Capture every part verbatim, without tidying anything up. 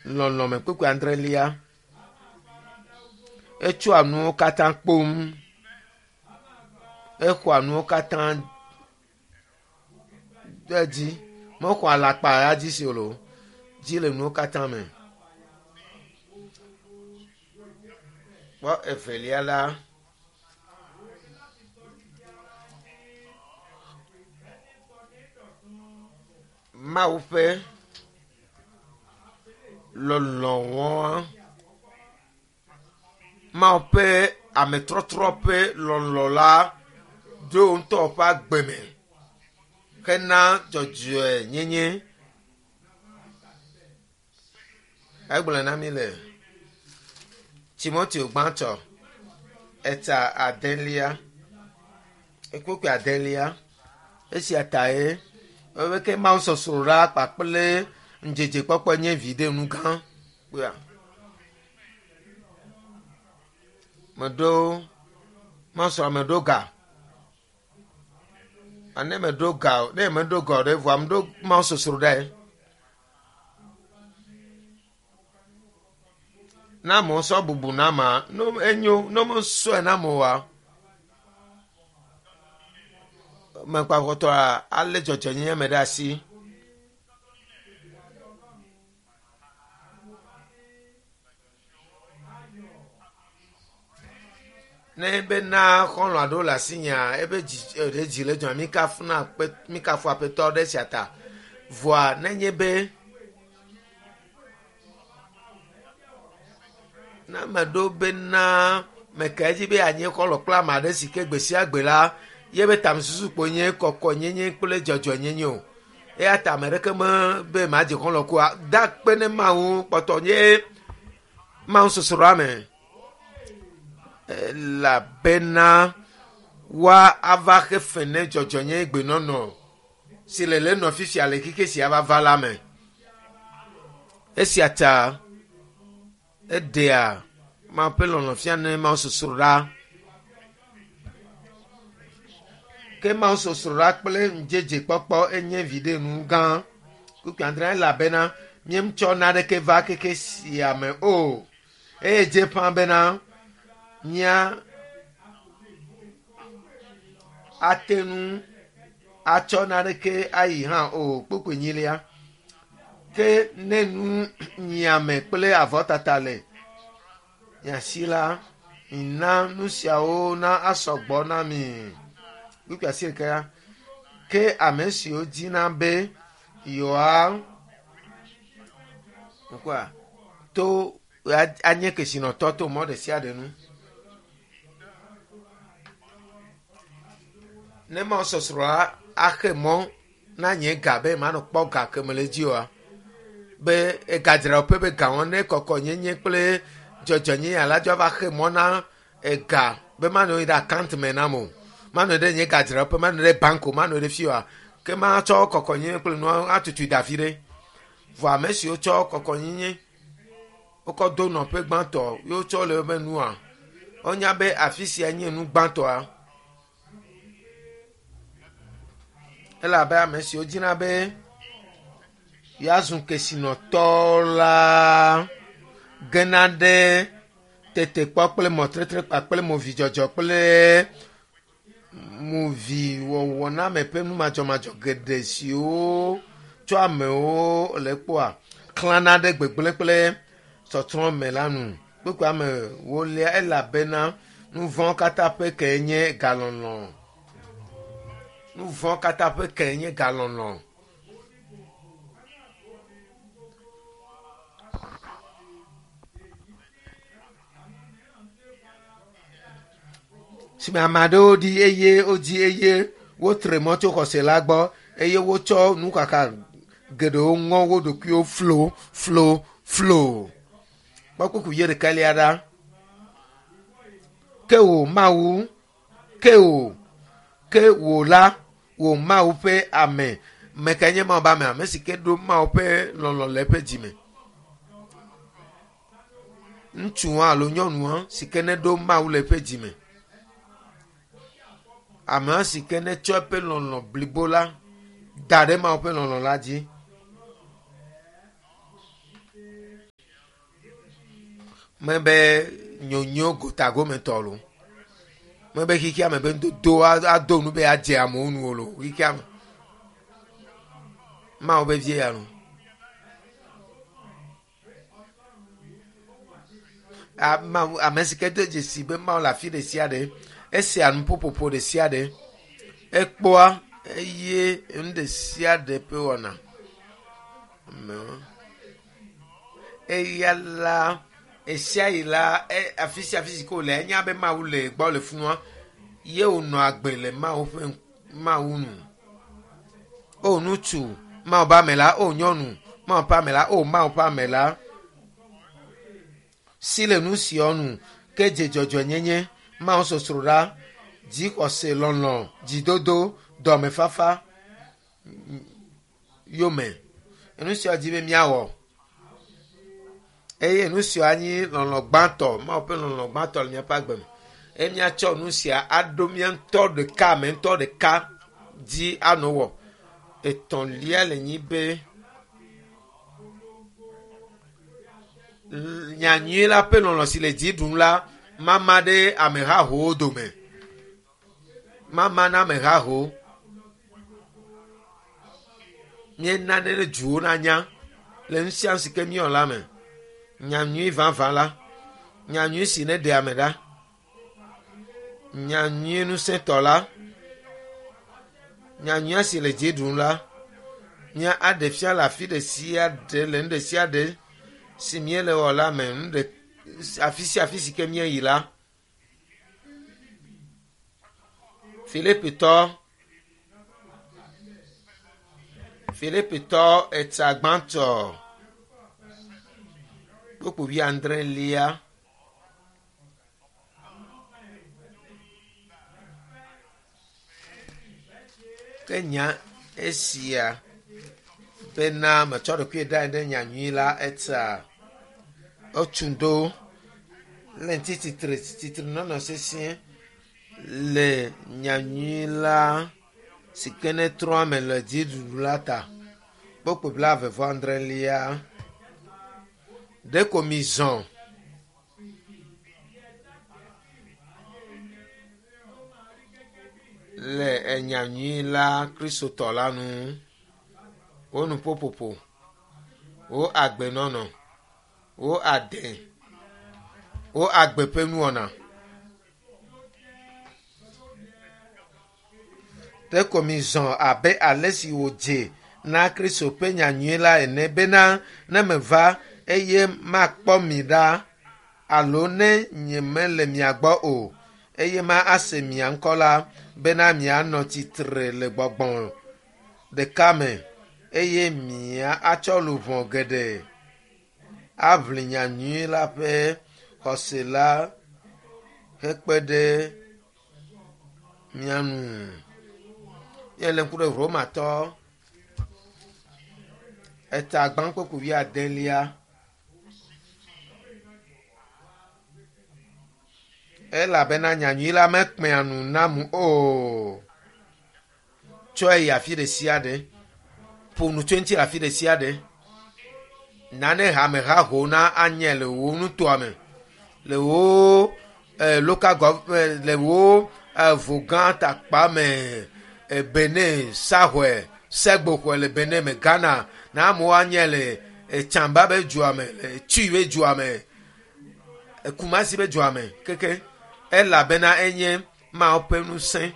Lɔlɔme kpukpui adrelia. Etsɔa nuwo katã kpom. Exɔa nuwo katã ɖe dzi. Mexɔa alakpa ya dzi si o loo. Dzi le nuwo katã me. Kpɔ evelia la. Mawu ƒe lɔlɔ̃ Mawu ƒe ametrɔtrɔ ƒe lɔlɔ̃ la do ŋutɔ ƒe agbe me hena dzɔdzɔenyenye. Egblɔe na mi le Timoteo gbãtɔ eta adelia ekpokpui adelia esia tae ebe ke Mawu sɔsrɔ̃ ɖa kpakple ŋudzedzekpɔkpɔ nye viɖenu gã kpɔa. Meɖo Mawu meɖo ga. Ane meɖo ga o, ne meɖo ga o ɖe vɔa meɖo Mawu sɔsrɔ̃ ɖae. Na amewo sɔ bubu na ma, no enyo, ne womesɔe na ame oa, mekpakpɔtɔa alé dzɔdzɔenyenye me ɖe asi. Ne bena xɔlɔ̃ aɖewo le asinyea, ebe dzi ɖe dzi le dzɔa, mi kafuna kpe mi kafu aƒetɔ ɖe sia ta. Vɔa nenye be ne ame ɖewo bena meka edzi be yeanye xɔlɔ̃ kple ame aɖe si ke gbe sia gbe la, yebe tamesusu kpo nye kɔkɔenyenye kple dzɔdzɔenyenye o. Eya ta ame ɖeke me be madze xɔlɔ̃ koa, da kpe ne Mawu kpɔtɔ nye Mawu sɔsrɔ̃a me. Elabena woa ava xe fe ne dzɔdzɔenyenye gbenɔnɔ si le le nɔ fifia le xexe sia va va la me. Esia ta eɖea Mawu ƒe lɔlɔ̃ fia ne Mawu sɔsrɔ̃ Ke Mawu sɔsrɔ̃ kple ŋudzedzekpɔkpɔ enye viɖenu gã. Kpukpui adre elabena míetsɔ naneke va xexe sia me o. Eye dze ƒã bena mía ate ŋu atsɔ naneke ayi hã o. Kpukpui enyilia. Ke ne nu nyiame kple avɔtata le miasi la, mina nu siawo na asɔ gbɔ na mi. Kpukpui asiekea. Ke ame siwo dina be yewoa ŋkɔa to anye kesinɔtɔ to mɔ ɖe sia ɖe nu. Ne Mawu sɔsrɔ̃a axe mɔ na nye ga be manɔ kpɔ ga ke me le dzi oa, be egadzraɖoƒe be gawo ne kɔkɔnyenye kple dzɔdzɔenyenye ala dzo ava xe mɔ na ega be manɔ yi ɖe account me nam o. Manɔ ɖe nye gadzraɖoƒe, manɔ ɖe bank o, manɔ ɖe fi oa. Ke matsɔ kɔkɔnyenye kple nua atutui da fi ɖe. Vɔ ame siwo tsɔ kɔkɔnyenye wokɔ do nɔƒe gbãtɔ ye wotsɔ le woƒe nua, wonya be afi sia nye nu gbãtɔa. Elabe ame siwo dzina be yeazu kesinɔtɔ la gena ɖe tetekpɔ kple mɔtetre kpakple movidzɔdzɔ kple moviwɔwɔname ƒe numadzɔmadzɔ geɖe siwo tsɔ amewo le kpɔa klãna ɖe gbegblẽ kple tsɔtsrɔ̃ me la nu. Kpukpui ame wolia elabena nu vɔ̃ katã ƒe ke nye galɔlɔ̃. Nu vɔ̃ katã ƒe ke nye galɔlɔ̃. Sime ame aɖewo ɖi eye wodzi eye wotre mɔ tso xɔse la gbɔ eye wotsɔ nukaka geɖewo ŋɔ wo ɖokuiwo flo flo flo. Kpɔ kpukpui ye ɖekalia ɖa. Ke wò Mawu, ke wò, ke wò la, wò Mawu ƒe ame. Me kae nye Mawu ƒe ame? Ame si ke ɖo Mawu ƒe lɔlɔ̃ le eƒe dzime. Ŋutsua alo nyɔnua si ke neɖo Mawu le eƒe dzime. Amea si ke netsɔ eƒe lɔlɔ̃ blibo la da ɖe Mawu ƒe lɔlɔ̃ la dzi. Mebe nyonyo gotagometɔ lo. Mebe xixia me be nudodo ado nu be adze amewo nu o lo xixia me. Mawu be vie ya lo. Mawu ame si ke de dzesi be Mawu le afi ɖe sia ɖe, esea nuƒoƒoƒo ɖe sia ɖe, ekpɔa eye nu ɖe sia ɖe ƒe wɔna. Amewo. Eya la esia yi la afi sia afi si ke wòle enya be Mawu le gbɔ le funua ye wònɔ agbe le Mawu ƒe Mawu nu. O ŋutsu, Mawu ƒe ame la, o nyɔnu, Mawu ƒe ame la, o Mawu ƒe ame la. Si le nu siawo nu ke dze dzɔdzɔenyenye, Mawu sosroɖa, dzixɔse, lɔlɔ̃, dzidodo, dɔmefafa yome. Enu siawo dzi be míawɔ. Eye nu siawo anyi lɔlɔ̃ gbãtɔ, Mawu ƒe lɔlɔ̃ gbãtɔ le míaƒe agbe me. Eye míatsɔ nu sia aɖo mía ŋutɔ ɖeka ame ŋutɔ ɖeka dzi anɔ wɔ. Etɔ̃lia le nyi be nyanyui la ƒe lɔlɔ̃ si le dzi ɖum la mama ɖe amehahowo dome. Mama na amehahowo. Míena ne ɖe duwo nanya le nu sia nu si ke míewɔ la me. Nyanyui vavã la, nyanyui si ne ɖe ame ɖa, nyanyui ŋusẽtɔ la, nyanyuia si le dzi ɖum la, mía aɖe fia le afi ɖe sia ɖe le nu ɖe sia ɖe si míele wɔ la me, nu ɖe afi sia afi si ke míeyi la. Filipitɔ Filipitɔ etsa gbãtɔ kpukpui wuiadrelia. Ke nya esia bena metsɔ ɖokui ɖe anyi ɖe nyanyui la etsa etu ɖo le ŋuti tsitre tsitre nɔnɔ sesĩe le nyanyui la si ke ne trɔ ame le dziɖuɖu la ta. Kpukpui blaeve vɔ adrelia. Ɖeko mizɔ le enyanyui la kristotɔ la nu. Wo nuƒoƒoƒo, wo agbenɔnɔ, wo ade, wo agbe ƒe nuwɔna. Ɖeko mizɔ abe ale si wòdze na Kristo ƒe nyanyui la ene bena ne meva eye makpɔ mi ɖa alo ne nyemele mia gbɔ o eye ma ase mia ŋkɔ la bena mianɔ tsitre le gbɔgbɔ ɖeka me eye mia atsɔ luʋɔ geɖe aʋli nyanyui la ƒe xɔse la hekpe ɖe mia ŋu. Míele ŋku ɖe Romatɔ eta gbã kpukpui wuiadelia. Elabena nyanyui la mekpea nu nam o. Tsɔe yi afi ɖe sia ɖe. Ƒo nu tso eŋuti le afi ɖe sia ɖe. Nane hamehaho na anye le wò nutoa me, le wò eh, local government, le wò eh, vogã takpa me, eh, Benin, Sahɔe, Segboxɔe le Benin me, Ghana, na amewo anye le eh, Tsamba be dua me, le Tui be dua me, eh, Kumasi be dua me, keke. Elabena enye Mawu ƒe ŋusẽ.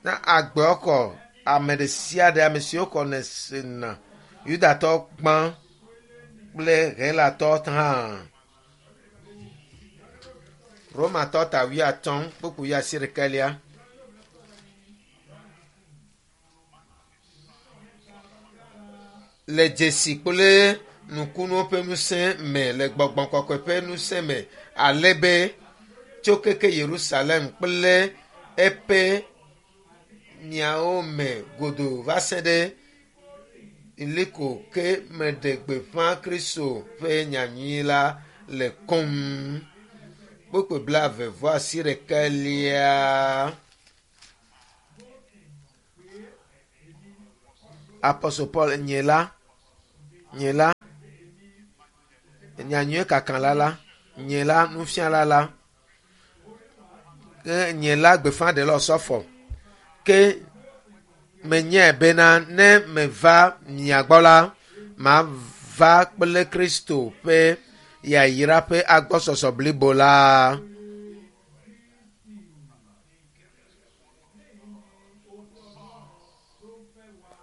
Na agbewo kɔ ame ɖe sia ɖe ame siwo kɔ ne sena Yudatɔ gbã kple Helatɔ hã. Romatɔ ta wuiatɔ̃ kpukpui wuiasiɖekɛlia. Le dzesi kple nukunuwo ƒe ŋusẽ me le gbɔgbɔ kɔkɔe ƒe ŋusẽ me ale be tso keke Yerusalem kple eƒe miawo me godoo va se ɖe Iliko ke meɖe gbeƒã Kristo ƒe nyanyui la le kom. Kpukpui blaeve vɔ asiɖekɛlia. Apostle Paul nye la, nye la, Nyanyuie kakalã la, nye la nufiala la, ke nye la gbeƒãɖela osɔfo. Ke menyae bena ne meva mia gbɔ la, mava kple Kristo ƒe yayra ƒe agbɔsɔsɔ blibo la.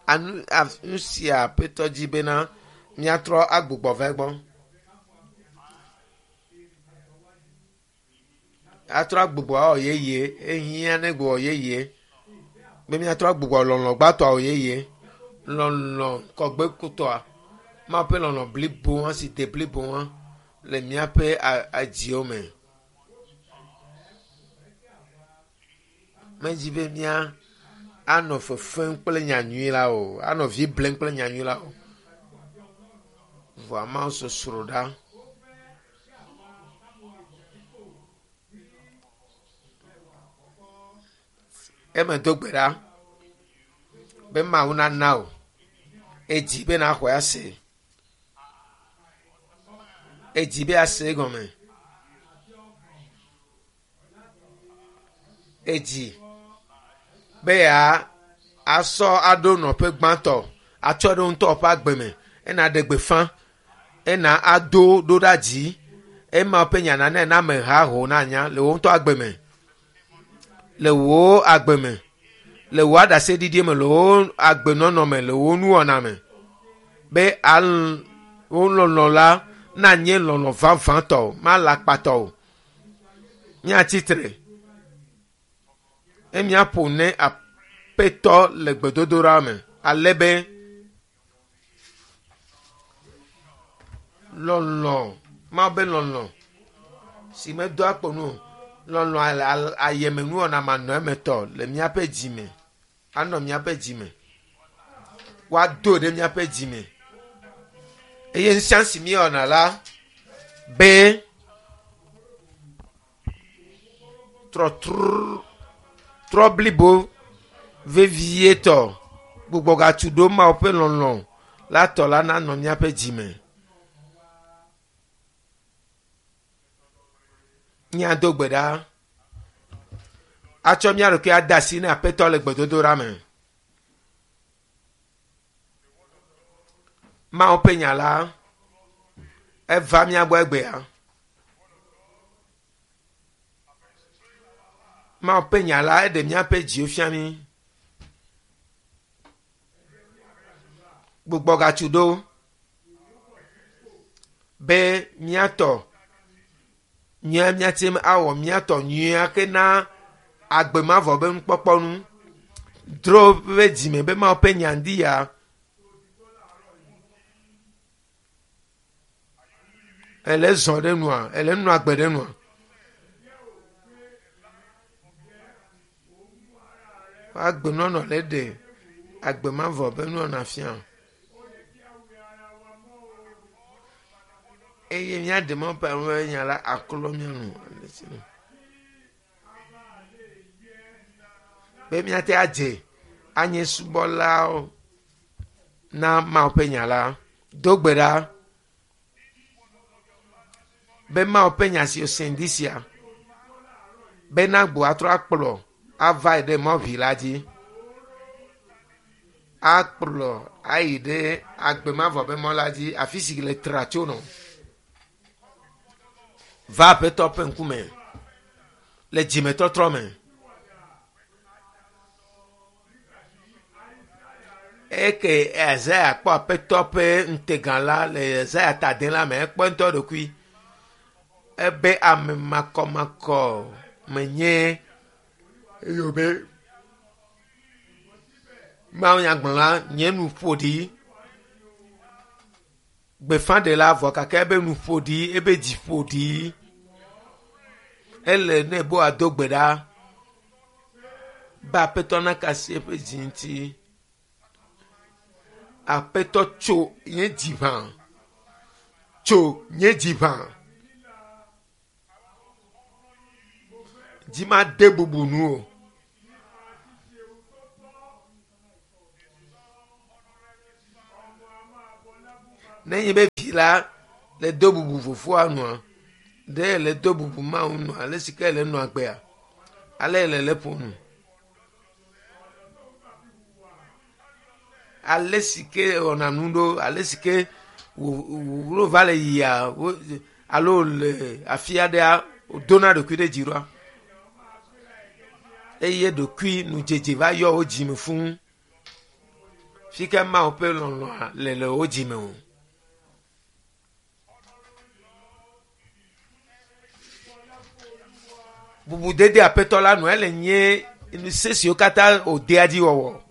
Anu nu sia Aƒetɔ dzi bena míatrɔ agbugbɔ va egbɔ. Atrɔ agbugbɔ awɔ yeye, ehiã ne gbugbɔ yeye. Be míatrɔ agbugbɔ lɔlɔ gbãtɔ awɔ yeye. Lɔlɔ kɔgbekutɔa, Mawu ƒe lɔlɔ blibo hã si de blibo hã le míaƒe adziwo me. Medzi be mía anɔ fefem kple nyanyui la o, anɔ vi blem kple nyanyui la o. Vɔa Mawu sosro ɖa. Eme do gbe ɖa be Mawu nana o. Edzi be naxɔe ase. Edzi be ase egɔme. Edzi be ya asɔ aɖo nɔƒe gbãtɔ atsɔ ɖe ŋutɔ ƒe agbe me ena ɖe gbeƒã ena ado ɖo ɖa dzi ema ƒe nya nane na ameha ho na nya le wo ŋutɔ agbe me le wo agbe me le wo aɖaseɖiɖi me le wo agbenɔnɔ me le wo nuwɔna me be al wo lɔlɔ la nanye lɔlɔ vavãtɔ ma le akpatɔ o. Míatsitre eye míaƒo ne Aƒetɔ le gbedodoɖa me ale be lɔlɔ Mawu be lɔlɔ si medoa kpo nu o, lɔlɔ ayemenuwɔna manɔ emetɔ le míaƒe dzime anɔ míaƒe dzime woado ɖe míaƒe dzime eye nu si míewɔna la be trɔtrɔ trɔ blibo vevietɔ gbugbɔgatu ɖo Mawu ƒe lɔlɔ la tɔ la nanɔ míaƒe dzime. Míado gbe ɖa atsɔ mía ɖokui ade asi na Aƒetɔ le gbedodoɖa me. Mawu ƒe nya la eva mía gbɔ egbea. Mawu ƒe nya la eɖe míaƒe dziwo fia mí. Gbugbɔgatu ɖo be míatɔ nyuia míate ŋu awɔ míatɔ nyuia ke na agbe mavɔ be nukpɔkpɔ nu. Dro ƒe dzime be Mawu ƒe nya ŋdi ya. Ele zɔ ɖe nua, ele nua agbe ɖe nua. Agbenɔnɔ le ɖe agbe mavɔ be nuwɔna fia. Eye míaɖe Mawu ƒe nya la aklɔ mía nu. Be míate adze anye subɔlawo na Mawu ƒe nya la. Do gbe ɖa be Mawu ƒe nya si wose ŋdi sia be nagbo atrɔ akplɔ ava yi ɖe mɔʋi la dzi. Akplɔ ayi ɖe agbe mavɔ be mɔ la dzi afi si le tra tso nɔ. Va Aƒetɔ ƒe ŋkume le dzimetɔtrɔ me. Eke Isaiah kpɔ Aƒetɔ ƒe ŋutega la le Isaiah ta ade la me ekpɔ ŋutɔ ɖokui ebe ame makɔmakɔ menye eye wòbe Mawu nyagblɔla nye nu ƒo ɖi. Gbeƒãɖela vɔ gake ebe nu ƒo ɖi, ebe dzi ƒo ɖi. Ele ne be wòado gbe ɖa be Aƒetɔ naka asi eƒe dzi ŋuti. Aƒetɔ tso nye dzi ʋã. Tso nye dzi ʋã. Dzi ma de bubu nu o. Nenye be vi la Le do bubu fofoa nua ɖe le do bubu Mawu nua ale si ke le nɔa gbea ale le le ƒo nu ale si ke wɔna nu ɖo ale si ke wo va le yia alo le afi aɖea wodona ɖokui ɖe dzi ɖoa eye ɖokui nudzedze va yɔ wo dzime fũu fi ke Mawu ƒe lɔlɔ̃a le le wo dzime o. Bubudede aƒetɔ la nu ele nye nu se siwo katã wòdea dzi wɔwɔ.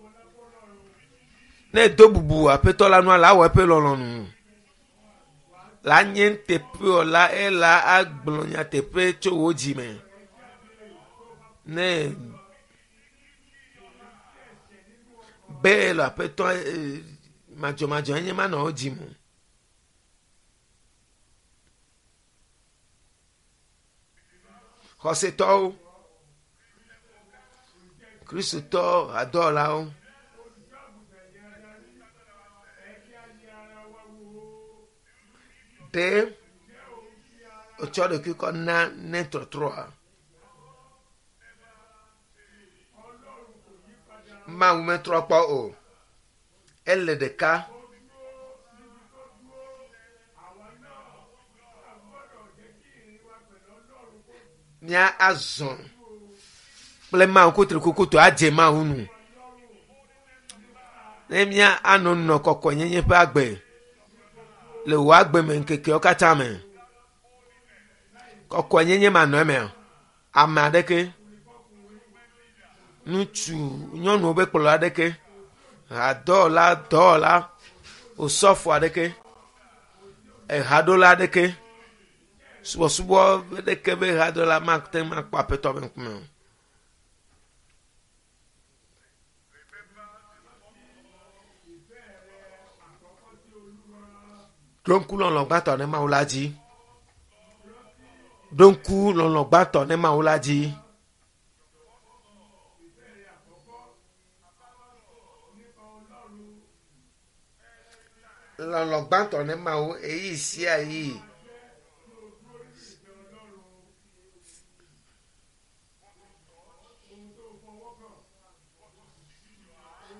Ne do bubu aƒetɔ la nua la wɔ eƒe lɔlɔ̃nu. La nye nuteƒewɔla ela agblɔ nyateƒe tso wò dzime. Ne be le aƒetɔ madzɔmadzɔ enye manɔ wo dzime o. Xɔsetɔwo, Kristotɔ hadɔwɔlawo, ɖe wotsɔ ɖokui kɔ na ne trɔtrɔa. Mawu metrɔ kpɔ o. Ele ɖeka. Mía azɔ kple Mawu kutrikukutu adze Mawu nu. Ne mía anɔ nɔ kɔkɔenyenye ƒe agbe le wò agbe me ŋkekewo katã me. Kɔkɔenyenye manɔ emea, ame aɖeke, ŋutsu, nyɔnuwo ƒe kplɔla aɖeke, hadɔwɔla, dɔwɔla, osɔfo aɖeke, ehaɖola aɖeke, subɔsubɔ aɖeke be haɖola mate ŋu akpɔ aƒetɔ ƒe ŋkume o. Ɖo ŋku lɔlɔ̃ gbãtɔ ne Mawu la dzi. Ɖo ŋku lɔlɔ̃ gbãtɔ ne Mawu la dzi. Lɔlɔ̃ gbãtɔ ne Mawu eyi sia yi.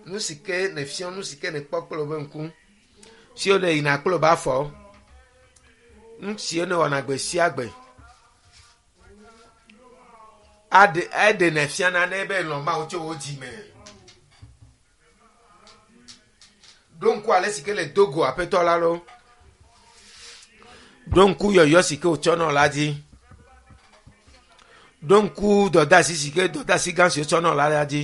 Nu si ke nèfiɔ, nu si ke nèkpɔ kple woƒe ŋku, siwo le yina kple woƒe afɔ, nu siwo nèwɔna gbe sia gbe, aɖe eɖenɛ fiana ne be lɔ̃ Mawu tso wò dzime. Ɖo ŋku ale si ke le do go aƒetɔ la ɖo. Ɖo ŋku yɔyɔ si ke wòtsɔ nɔ la dzi. Ɖo ŋku dɔdeasi si ke dɔdeasi gã si wotsɔ nɔ la la dzi.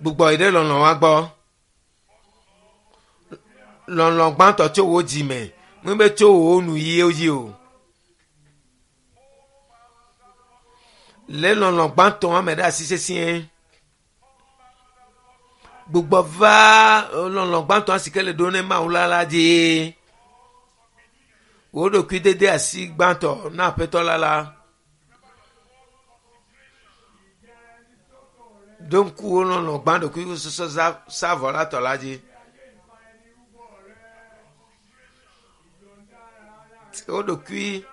Gbugbɔ yi ɖe lɔlɔ̃ wa gbɔ. Lɔlɔ̃ gbãtɔ tso wò dzime, mebe tso wò nuyiwo dzi o. Le lɔlɔ̃ gbãtɔ me ɖe asi sesĩe. Gbugbɔ va lɔlɔ̃ gbãtɔ si ke le ɖo ne Mawu la la dzi. Wò ɖokui dede asi gbãtɔ na aƒetɔ la la. Ɖo ŋku wò lɔlɔ̃ gbã ɖokui sɔsɔ savɔ la tɔ la dzi. Wò ɖokui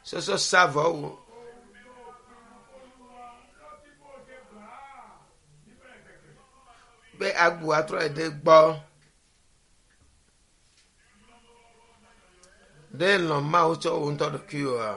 sɔsɔ savɔ wò. Be agbu atrɔ yi ɖe gbɔ. Ɖe lɔ̃ Mawu tsɔ wò ŋutɔ ɖokuiwòa?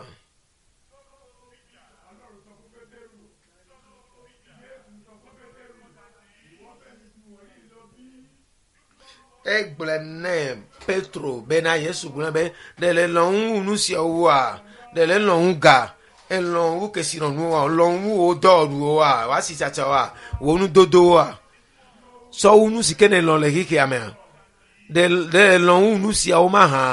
Egblɔ nɛ Petro bena Yesu gblɔ be ɖe le lɔ̃ ŋu nu siawo woa, ɖe le lɔ̃ ŋu ga, elɔ̃ ŋu kesinɔnuwoa, lɔ̃ ŋu wò dɔwɔɖuwoa, wò asitsatsawoa, wò nudodowoa, sɔwu nu si ke nèlɔ̃ le xexea mea, ɖe ɖe le lɔ̃ ŋu nu siawo mahã.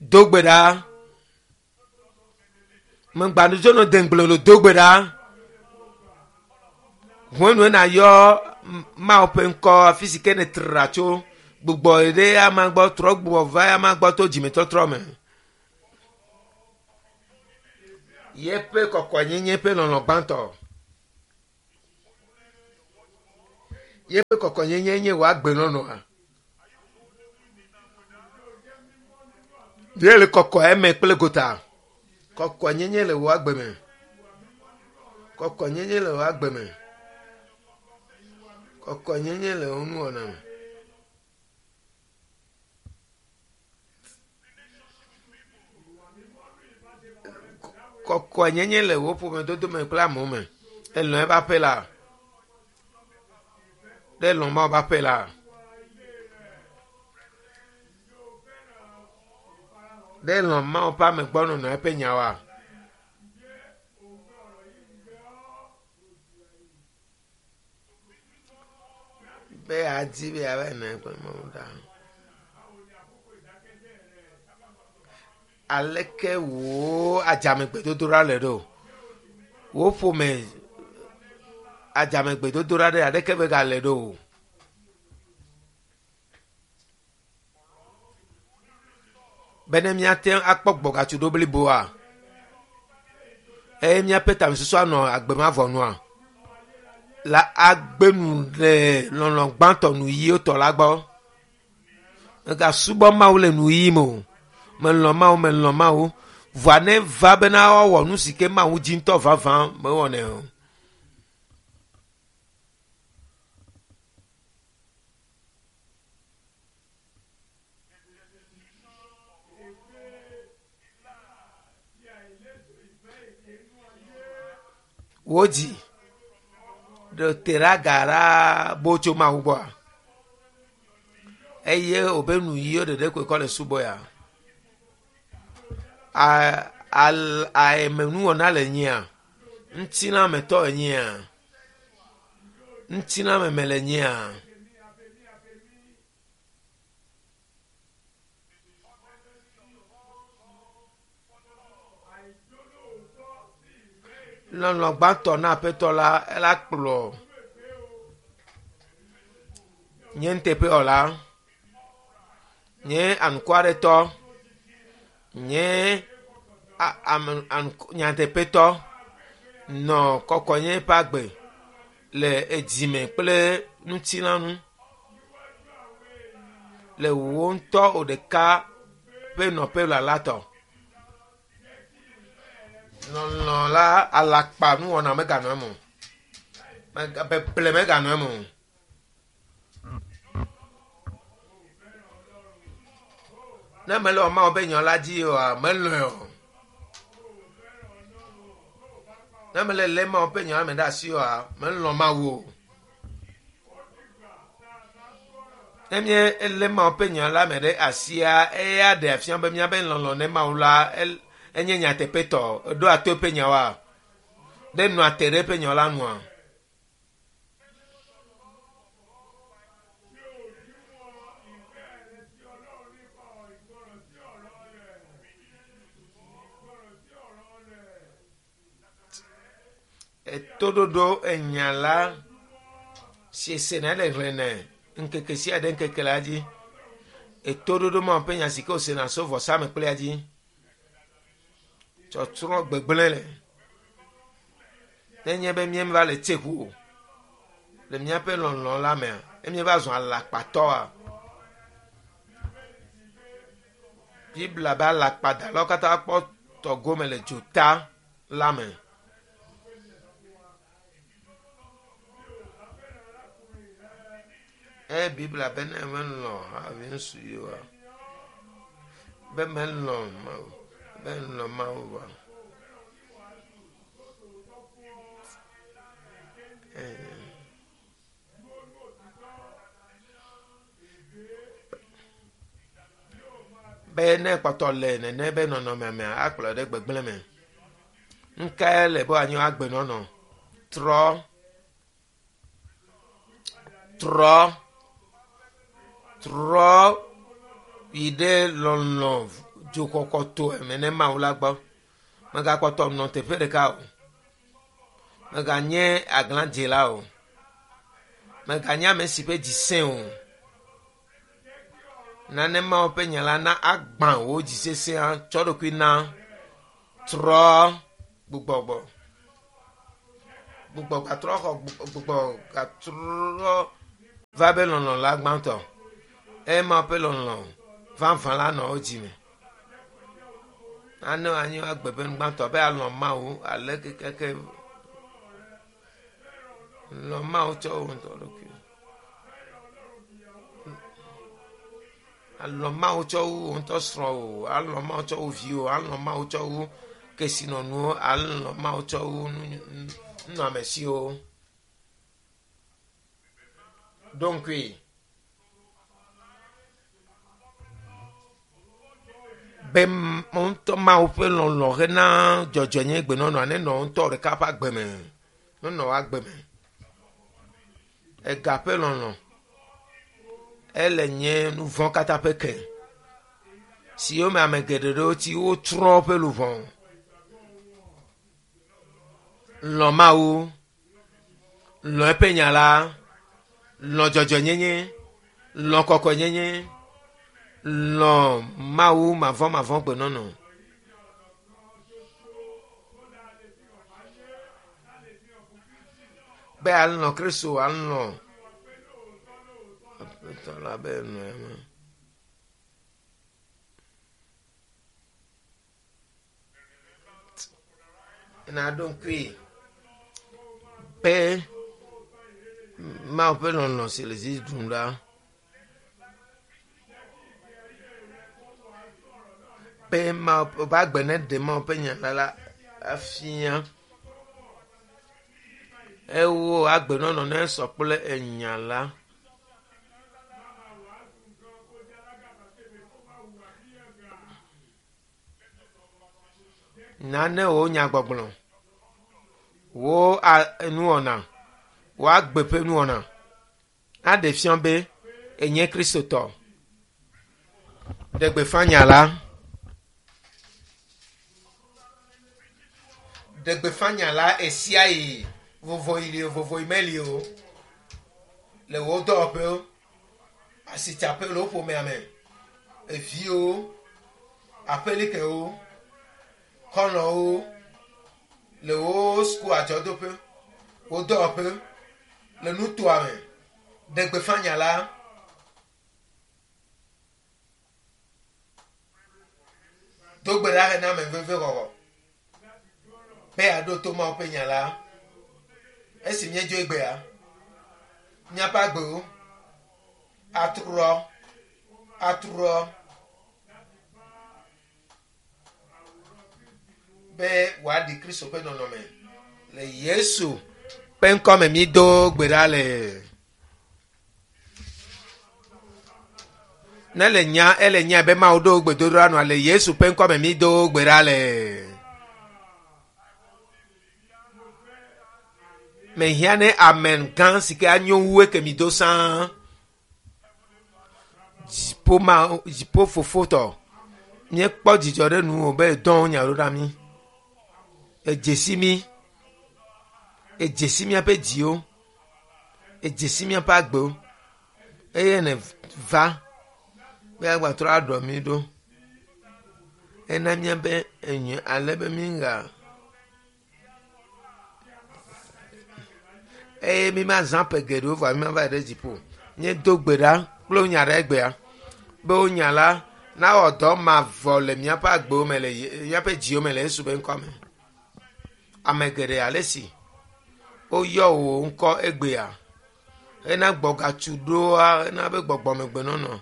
Do gbe ɖa. Megbanudzo nɔ deŋgble lo do gbe ɖa. Ʋue na yɔ Mawu ƒe ŋkɔ afi si ke nètra tso gbugbɔ ɖe ama gbɔ trɔ gbugbɔ va ama gbɔ to dzimetɔtrɔ me. Yeƒe kɔkɔenyenye ƒe lɔlɔ̃ gbãtɔ. Yeƒe kɔkɔnyenye nye wò agbenɔnɔa. Ye le kɔkɔ eme kple gota. Kɔkɔnyenye le wò agbe me. Kɔkɔnyenye le wò agbe me. Kɔkɔnyenye le wò nuwɔna me. Kɔkɔnyenye le wò ƒomedodo me kple amewo me. Elɔ̃ eƒe aƒe la. Ɖe lɔ̃ Mawu ƒe aƒe la. Ɖe lɔ̃ Mawu ƒe amegbɔnɔnɔ eƒe nyawoa. Be adi be yeava nɔ anyi kple Mawu ɖa. Aleke wò adzamegbedodoɖa le ɖo? Wò ƒome adzamegbedodoɖa ɖe aɖeke megale ɖo o. Bene míate ŋu akpɔ gbɔgatsoɖo bliboa eye míaƒe tamesusu anɔ agbemavɔ nua la agbe nu le lɔlɔ gbãtɔ nu ɣiwo tɔ la gbɔ. Megasubɔ Mawu le nu ɣi me o. Melɔ̃ Mawu, melɔ̃ Mawu. Vɔa ne va bena woawɔ nu si ke Mawu dzi ŋutɔ vavã mewɔnɛ o. Wò dzi ɖe te ɖe aga ɖaa bo tso Mawu gbɔa? Eye wòbe nu ɣiwo ɖeɖe koe kɔ le subɔ ya. A al aemenuwɔna le nyia? Ŋutilãmetɔ enyia? Ŋutilãmeme le nyia? Lɔlɔ gbãtɔ na aƒetɔ la ela kplɔ nye nuteƒewɔla, nye anukwaretɔ, nye ame nyateƒetɔ nɔ kɔkɔnye ƒe agbe le edzime kple ŋutilãnu le wò ŋutɔ wò ɖeka ƒe nɔƒe lala tɔ. Lɔlɔ la alakpa nuwɔna meganɔ eme o. Beble meganɔ eme o. Ne mele Mawu ƒe nya la dzi oa, melɔ̃e o. Ne mele lé Mawu ƒe nya me ɖe asi oa, melɔ̃ Mawu o. Ne míelé Mawu ƒe nya la me ɖe asia, eya ɖe afia be míaƒe lɔlɔ̃ ne Mawu la enye nyateƒetɔ. Eɖoa to eƒe nyawoa? Ɖe nɔa te ɖe eƒe nya la nua? Etoɖoɖo enya la si sena le xlẽnɛ ŋkeke sia ɖe ŋkeke la dzi. Etoɖoɖo Mawu ƒe nya si ke wosena so vɔsamlekpuia dzi. Tsɔtsrɔ̃ gbegblẽ le. Nenye be míeva le tseku o le míaƒe lɔlɔ la mea, ne míeva zɔ alakpatɔa, Biblia be alakpadalawo katã kpɔ tɔ gome le dzota la me. Eye Biblia be ne melɔ̃ havi ŋutsu yi oa, be melɔ̃ Mawu, be lɔ̃ Mawu oa. Be ne kpɔtɔ le nene be nɔnɔme mea, akplɔ ɖe gbegblẽ me. Nukae le be wòanye agbenɔnɔ? Trɔ, trɔ, trɔ yi ɖe lɔlɔ dzokɔkɔto eme ne Mawu la gbɔ. Megakpɔtɔ nɔ teƒe ɖeka o. Meganye aglãdzela o. Meganye ame si ƒe dzi sẽ o. Nane Mawu ƒe nya la na agbã wò dzi sesẽa tsɔ ɖokui na. Trɔ gbugbɔgbɔ. Gbugbɔ gatrɔ xɔ gbugbɔ gatrɔ Va be lɔlɔ la gbãtɔ. Ema ƒe lɔlɔ vavã la nɔ wo dzime. Ane anyi agbe ƒe nu gbãtɔ be alɔ Mawu ale kekeke lɔ Mawu tsɔ wo ŋutɔ ɖokui. Alɔ Mawu tsɔ wu wo ŋutɔ srɔ̃wò, alɔ Mawu tsɔ wu viwò, alɔ Mawu tsɔ wu kesinɔnuwo, alɔ Mawu tsɔ wu nunɔamesiwo. Ɖo ŋkui. Be ŋutɔ Mawu ƒe lɔlɔ hena dzɔdzɔenye gbenɔnɔa nenɔ ŋutɔ ɖeka ƒe agbe me. Nenɔ wo agbe me. Ega ƒe lɔlɔ ele nye nu vɔ̃ katã ƒe ke. Siwo me ame geɖe ɖewo tsi wotsrɔ̃ woƒe luʋɔ. Lɔ̃ Mawu, lɔ̃ eƒe nya la, lɔ̃ dzɔdzɔenyenye, lɔ̃ kɔkɔenyenye, lɔ̃ Mawu mavɔmavɔ gbenɔnɔ. Be alɔ̃ Kristo, alɔ̃ Aƒetɔ la be nɔe me. Naɖo ŋkui be Mawu ƒe lɔlɔ si le dzi ɖum la be Mawu ƒe agbe neɖe Mawu ƒe nya la la afia. Ewo agbenɔnɔ ne sɔ kple enya la. Nane wo nyagbɔgblɔ, wo nuwɔna, wo agbe ƒe nuwɔna aɖe fia be enye Kristotɔ. Ɖe gbeƒã nya la. Ɖe gbeƒã nya la esia yi vovoyi li o, vovoyi meli o. Le wo dɔwɔƒewo, asitsaƒe le wo ƒomea me, eviwo, aƒelikewo, xɔlɔ̃wo, le wo suku adzɔdoƒe, wo dɔwɔƒe, le nutoa me. Ɖe gbeƒã nya la. Do gbe ɖa hena ame veve xɔxɔ. Be yeaɖo to Mawu ƒe nya la. Esi míedzo egbea, míaƒe agbewo atrɔ, atrɔ be wòaɖi Kristo ƒe nɔnɔme. Le Yesu ƒe ŋkɔme mído gbe ɖa le. Ne le nya, ele nya be Mawu ɖo gbedodoɖa nua le Yesu ƒe ŋkɔme mído gbe ɖa le. Mehiã ne amen gã si ke anyo wu eke mi do sãa. Dziƒo ma, dziƒo fofotɔ. Míekpɔ dzidzɔ ɖe nuwò be edɔn nya ɖo ɖa mí. Edze mi. Edze si míaƒe dziwo. Edze si míaƒe agbewo. Eye ne va be agbatrɔ aɖɔ mí ɖo. Ena míabe enyo ale be míŋga. Eye mi ma zã ƒe geɖewo vɔ mi ma va yi ɖe dziƒo. Míedo gbe ɖa kple wo nya ɖe egbea be wo nya la nawɔ dɔ mavɔ le míaƒe agbewo me le míaƒe dziwo me le Yesu ƒe ŋkɔ me. Ame geɖe ale si woyɔ wò ŋkɔ egbea hena gbɔgatsu ɖoa hena be gbɔgbɔmegbenɔnɔ.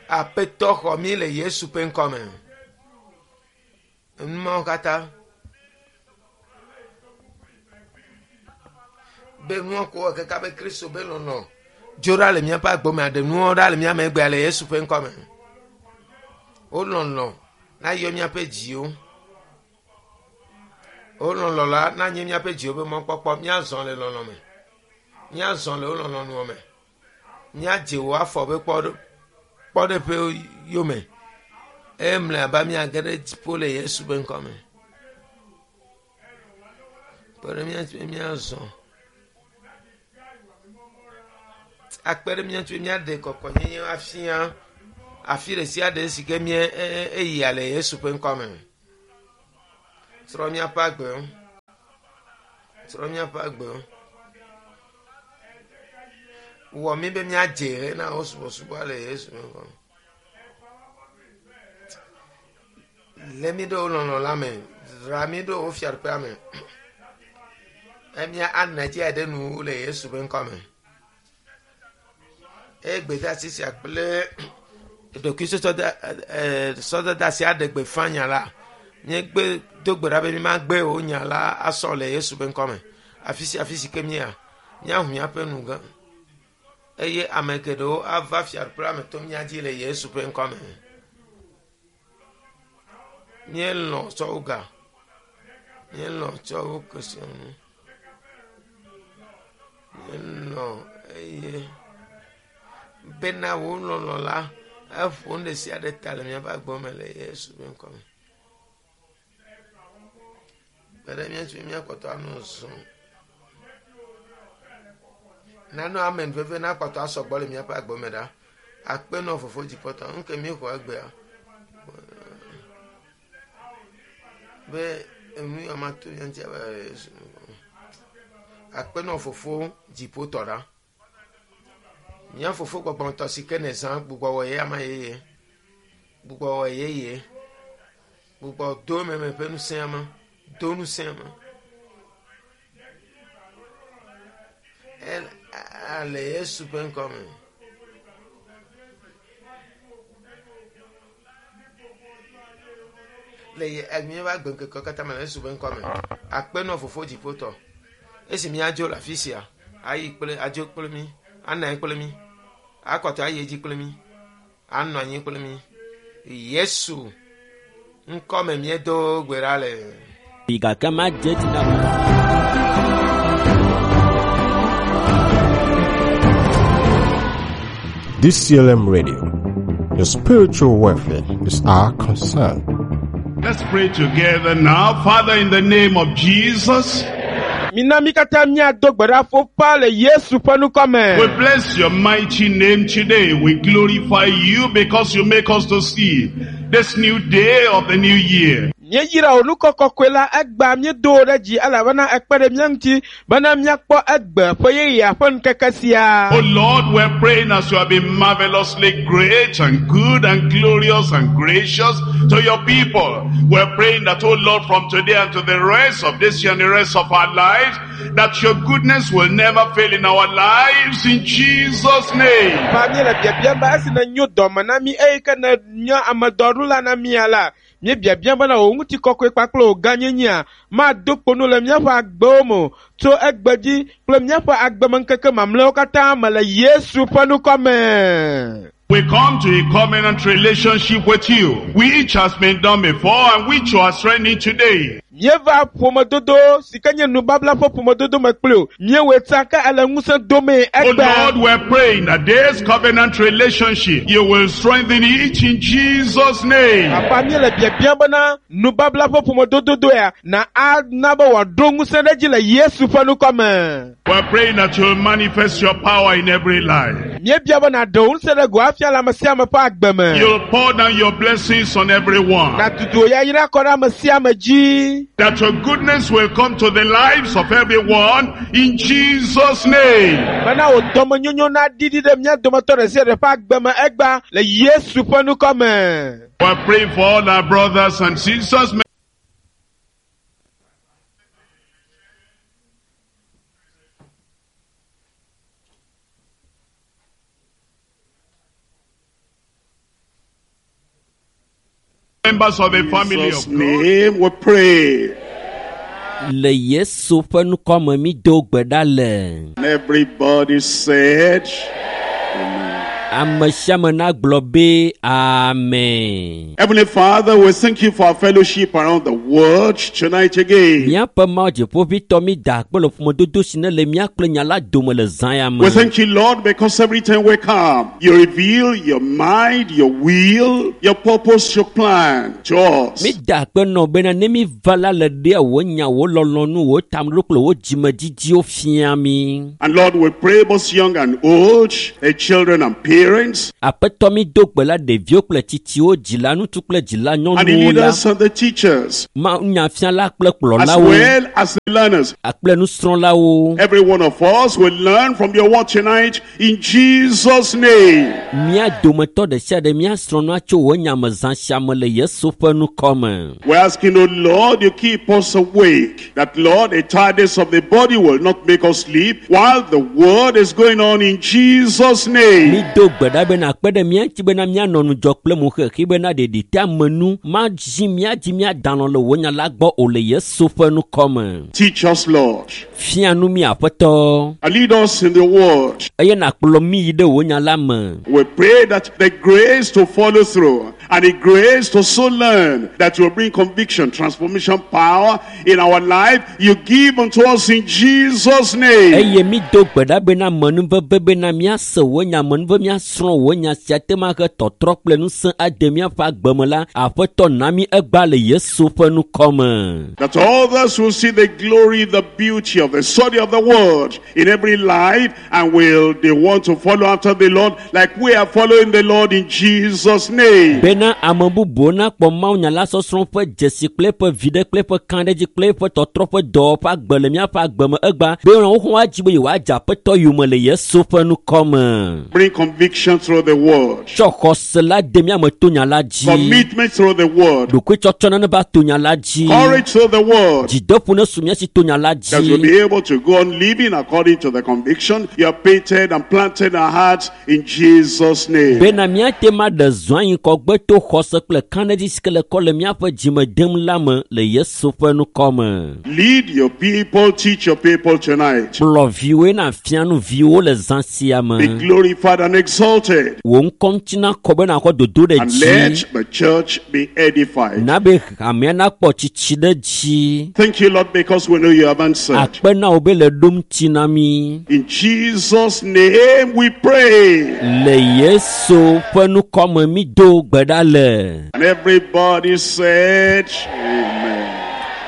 Aƒetɔ xɔ mí le Yesu ƒe ŋkɔ me. Numawo katã be nuwo ko wɔ kaka be Kristo be lɔlɔ dzo ɖa le míaƒe agbe me aɖe nuwo ɖa le mía me egbea le Yesu ƒe ŋkɔ me. Wo lɔlɔ nayɔ míaƒe dziwo. Wo lɔlɔ la nanye míaƒe dziwo ƒe mɔkpɔkpɔ. Míazɔ le lɔlɔ me. Míazɔ le wo lɔlɔnuwo me. Míadze wò afɔ ƒe kpɔɖeƒe yome. Eye mlɔeba míage ɖe dziƒo le Yesu ƒe ŋkɔ me. Kpe ɖe mía ŋuti be míazɔ. Akpe ɖe mía ŋuti be míaɖe kɔkɔenyenye afia afi ɖe sia ɖe si ke mía eyia le Yesu ƒe ŋkɔ me. Trɔ míaƒe agbewo. Trɔ míaƒe agbewo. Wɔ mí be míadze hena wo subɔsubɔ le Yesu ƒe ŋkɔ me. Lé mí ɖe wo lɔlɔ la me. Dzra mí ɖe wo fiaɖuƒea me. Emia ana dzi aɖe nu le Yesu ƒe ŋkɔ me. Eye gbedeasi sia kple ɖokuisɔsɔdasi aɖe gbeƒã nya la. Míegbe do gbe ɖa be mímagbe wo nya la asɔ le Yesu ƒe ŋkɔ me. Afi sia afi si ke mía, míahu míaƒe nu gã. Eye ame geɖewo ava fiaɖuƒe la me to mía dzi le Yesu ƒe ŋkɔ me. Míelɔ̃ tsɔ wo ga. Míelɔ̃ tsɔ wo kesinɔnu. Míelɔ̃ eye bena wo lɔlɔ̃ la eƒo nu ɖe sia ɖe ta le míaƒe agbe me le Yesu ƒe ŋkɔ me. Kpe ɖe mía ŋuti be míakpɔtɔ anɔ zɔm. Nano ame veve nakpɔtɔ asɔgbɔ le míaƒe agbe me ɖa. Akpe nɔ fofo dziƒotɔ. Nu ke míexɔ egbea be enu ya mato mía ŋuti abe Yesu ƒe ŋkɔ me. Akpe nɔ fofo dziƒotɔ ɖa. Mía fofo gbɔgbɔmetɔ si ke nèzã gbugbɔ wɔ ye ama yeye. Gbugbɔ wɔ yeye. Gbugbɔ do meme ƒe ŋusẽ me. Do ŋusẽ me. El, le Yesu ƒe ŋkɔ me. Le ye, míaƒe agbeŋkekewo katã me le Yesu ƒe ŋkɔ me. Akpe nɔ fofo dziƒotɔ. Esi míadzo le afi sia, ayi kple, adzo kple mí, anɔ anyi kple mí, akɔtɔ ayi edzi kple mí, anɔ anyi kple mí. Yesu ŋkɔ me míedo gbe ɖa le. Gake madze dzi na D C L M Radio, your spiritual welfare is our concern. Let's pray together now. Father, in the name of Jesus, Mina mí katã míado gbe ɖa fofa le Yesu ƒe ŋkɔ me. We bless your mighty name today. We glorify you because you make us to see this new day of the new year. Míeyra wò ŋkɔ kɔkɔe la egbea míedo wò ɖe dzi elabena ekpe ɖe mía ŋuti bena míakpɔ egbe ƒe yeyea ƒe ŋkeke sia. Oh Lord, we're praying as you have been marvelously great and good and glorious and gracious to your people. We're praying that, oh Lord, from today and to the rest of this year and the rest of our lives, that your goodness will never fail in our lives in Jesus' name. Fa míele biabiam be esi nènyo dɔme na mí eye ke nènye ame dɔɖula na mía la, míebiabiam bena wò ŋutikɔkɔe kpakple wò gãnyenyea mado kpo nu le míaƒe agbewo me o tso egbe dzi kple míaƒe agbemeŋkeke mamlɛawo katã me le Yesu ƒe ŋkɔ me. We come to a covenant relationship with you, which has been done before and which you are strengthening today. Míeva ƒomedodo si ke nye nubabla ƒe ƒomedodo me kpli o. Míewɔe tsã ke ele ŋusẽ domee Oh egbea. Lord, we're praying that this covenant relationship, you will strengthen it in Jesus' name. Papa míele biabiam bena nubabla ƒe ƒomedodo doea na ana be wòaɖo ŋusẽ ɖe edzi le Yesu ƒe ŋkɔ me. We're praying that you'll manifest your power in every life. Míebia be nàɖe wò ŋusẽ ɖe go afia le ame sia ame ƒe agbe me. You'll pour down your blessings on everyone. Nàdudu wò yayra kɔ ɖe ame sia ame dzi. That your goodness will come to the lives of everyone in Jesus' name. Bena wò dɔmenyonyo naɖiɖi ɖe mía dometɔ ɖe sia ɖe ƒe agbe me egbea le Yesu ƒe ŋkɔ me. We're praying for all our brothers and sisters. Members of the family Jesus' of God. name we pray. Le Yesu ƒe ŋkɔ me mído gbe ɖa le. And everybody said, Amen. Ame sia ame nagblɔ be amen. Heavenly Father, we thank you for our fellowship around the world tonight again. Míaƒe Mawu dziƒoʋĩtɔ mi da akpe le ƒomedodo si ne le mía kple nya la dome le zã ya me. We thank you, Lord, because every time we come, you reveal your mind, your will, your purpose, your plan to us. Mi da akpe nɔ bena ne mi va la le ɖea wò nya, wò lɔlɔ̃nu, wò tameɖoɖo kple wò dzimedidiwo fia mi. And Lord, we pray both young and old, the children and parents, parents, Aƒetɔ mi do gbe la ɖeviwo kple tsitsiwo, dzila ŋutsu kple dzila and the nyɔnuwo la, leaders and the teachers, mawunyafiala kple as kplɔlawo well as the learners. kple nusrɔ̃lawo. Every one of us will learn from your word tonight in Jesus' name. Mía dometɔ ɖe sia ɖe míasrɔ̃ nua tso wò nya me zã sia me le Yesu ƒe ŋkɔ me. We're asking, oh Lord, you keep us awake. That, Lord, the tiredness of the body will not make us sleep while the word is going on in Jesus' name. Mi do gbe ɖa bena akpe ɖe mía ŋuti bena míanɔ ŋudzɔ kple mo xexi bena ɖeɖi te ame nu madzi mía dzi míada alɔ̃ le wò nya la gbɔ o le Yesu ƒe ŋkɔ me. Teach us, Lord, Fia nu mí Aƒetɔ and lead us in the word. eye nàkplɔ mí yi ɖe wò nya la me. We pray that the grace to follow through and the grace to so learn that will bring conviction, transformation, power in our life, you give unto us in Jesus' name. Eye mi do gbe ɖa bena amenuveve bena míase wò nya amenuve míasrɔ̃ wò nya sia te ma he tɔtrɔ kple ŋusẽ ade míaƒe agbe me la Aƒetɔ na mí egbea le Yesu ƒe ŋkɔ me. That others will see the glory, the beauty of the study of the word in every life and will they want to follow after the Lord like we are following the Lord in Jesus' name. Bena ame bubuwo nakpɔ mawunya la sɔsrɔ̃ ƒe dzesi kple eƒe viɖe kple eƒe kãɖedzi kple eƒe tɔtrɔ ƒe dɔwɔƒe agbe le míaƒe agbe me egbea be wohã woadzi be yewoadze Aƒetɔ yome le Yesu ƒe ŋkɔ me. Bring conviction through the word, Tsɔ xɔse la de mía me to nya la dzi. commitment through the word, Ɖokuitsɔtsɔ nane va to nya la dzi. courage through the word. Dzideƒo ne su mía si to nya la That we'll dzi. be able to go on living according to the conviction you have painted and planted in our hearts in Jesus' name. Bena míate ma ɖe zɔ anyi kɔgbe to xɔse kple kãɖedzi si ke le kɔ le míaƒe dzime dem la me le Yesu ƒe ŋkɔ me. Lead your people, teach your people tonight. Kplɔ viwoe na fia nu viwo le zã sia Be me. glorified and exalted. Wò ŋkɔ ŋuti nakɔ be nàxɔ dodo ɖe And dzi. let the church be edified. Na be hamea nakpɔ tsitsi ɖe dzi. Thank you, Lord, because we know you have answered. Akpe na wò be le ɖom ŋuti na mí. In Jesus' name we pray. Le Yesu ƒe ŋkɔ me mi do gbe ɖa le. And everybody said, Amen.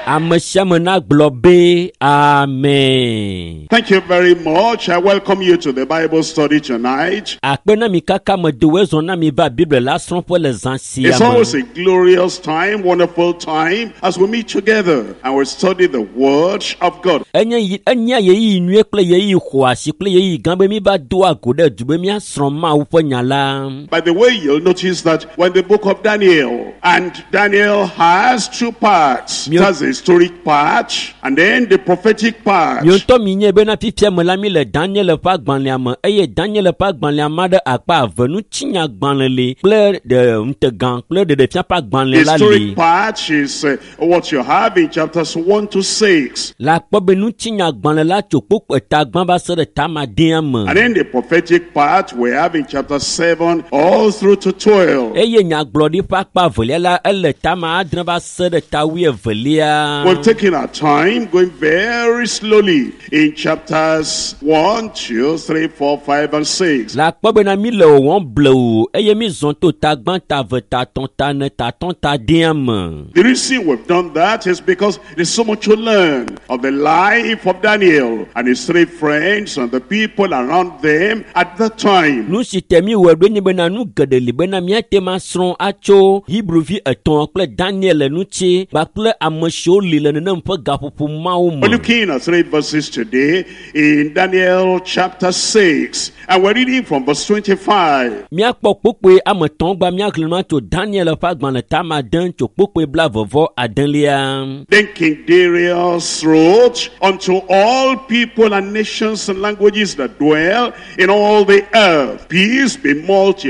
Ame sia ame nagblɔ be amen. Thank you very much. I welcome you to the Bible study tonight. Akpe na mi kaka me do wezɔ na mi va Biblia la srɔ̃ƒe le zã sia It's always me. a glorious time, wonderful time as we meet together and we study the Word of God. Enye yi enye ɣeyiɣi nyuie kple ɣeyiɣi xɔasi kple ɣeyiɣi gã be mi va doa go ɖe du be míasrɔ̃ Mawu ƒe nya la. By the way, you'll notice that when the book of Daniel, and Daniel has two parts. It has the historic part and then the prophetic part. Miwo ŋutɔ mi nye bena fifia me la mi le Daniel ƒe agbalẽa me eye Daniel ƒe agbalẽa ma ɖe akpa eve ŋutinyagbalẽ li kple ɖe ŋutegã kple ɖeɖefia ƒe The agbalẽ la li. historic part is uh, what you have in chapters one to six. Le akpɔ be ŋutinyagbalẽ la tso kpokpo eta gbã va se ɖe tamadea me. And then the prophetic part we have in chapter seven all through to twelve. Eye nyagblɔɖi ƒe akpa evelia la ele tama adre va se ɖe ta wuievelia. We've taken our time going very slowly in chapters one, two, three, four, five, and six. Le akpɔ bena mi le wɔwɔm blewu eye mi zɔn to ta gbã ta eve ta tɔn ta ene ta tɔn ta dea me. The reason we've done that is because there's so much to learn of the life of Daniel and his three friends and the people around them at that time. Nu si te mi wɔ ɖo nye bena nu geɖe li bena míate ma srɔ̃ atso Hebruvi etɔ̃ kple Daniel ŋuti kpakple ame siwo li le nenem ƒe gaƒoƒo mawo We're me. looking at three verses today in Daniel chapter six, and we're reading from verse twenty-five. Míakpɔ kpokpoe ame etɔ̃ gba míaxlẽ nua tso Daniel ƒe agbalẽ tama ade tso kpokpoe blaeve adelia. Then King Darius wrote unto all people and nations and languages that dwell in all the earth, peace be